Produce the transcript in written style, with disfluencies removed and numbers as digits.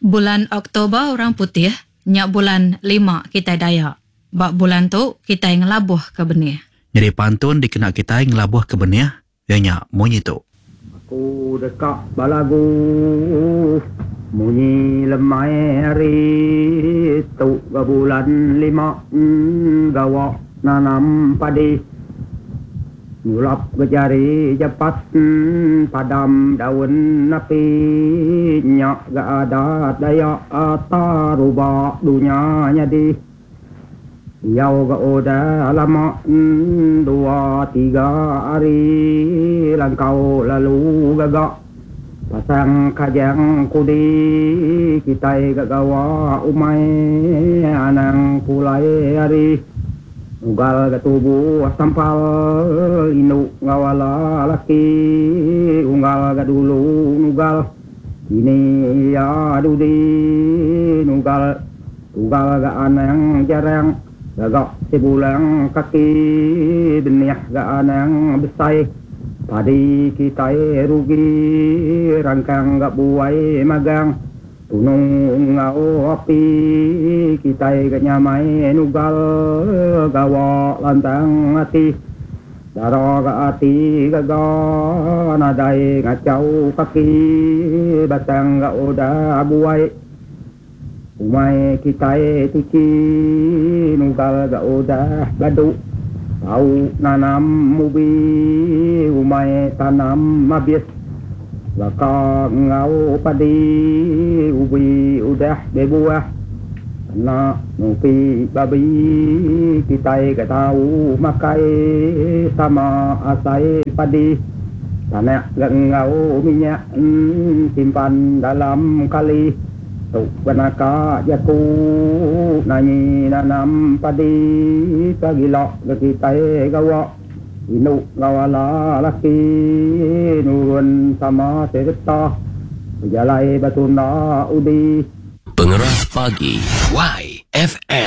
Bulan Oktober orang putih nya bulan lima kitai Dayak. Ba bulan tu kitai ngelabuhka benih. Nyadi pantun dikena kitai ngelabuhka benih iya nya munyi tu. Aku deka belagu munyi lemai hari tu ga bulan lima gawa nanam padi. Nyulap ga jari jepat padam daun api nya ga adat Dayak taruba dunya nyadi. Diau ga udah lama dua tiga hari langkau lalu gaga pasang kajang kudi kitai ga gawa umai anang pulai hari. Nugal ga tubuh sampal indu enggau ala laki unggal ga dulu nugal kini iya dudi nugal tugal ga anang jarang gaga sibulang kaki benih ga anang besai padi kitai rugi rangkang ga buai magang. Tunu enggau api kitai ga nyamai nugal gawa lantang ati. Dara ga ati gaga nadai ngachau kaki batang ga udah buai. Umai kitai tuchi nugal ga udah badu tau nanam ubi umai tanam abis. Baka enggau padi ubi udah bebuah kena nupi babi kitai ke tau makai sama asai padi tanak ga enggau minyak simpan dalam kali tu benaka jaku nanyi nanam padi pagila ga kitai gawa. Indu enggau ala laki nurun sama sereta bejalai betunda udi. Pengerah Pagi YFM.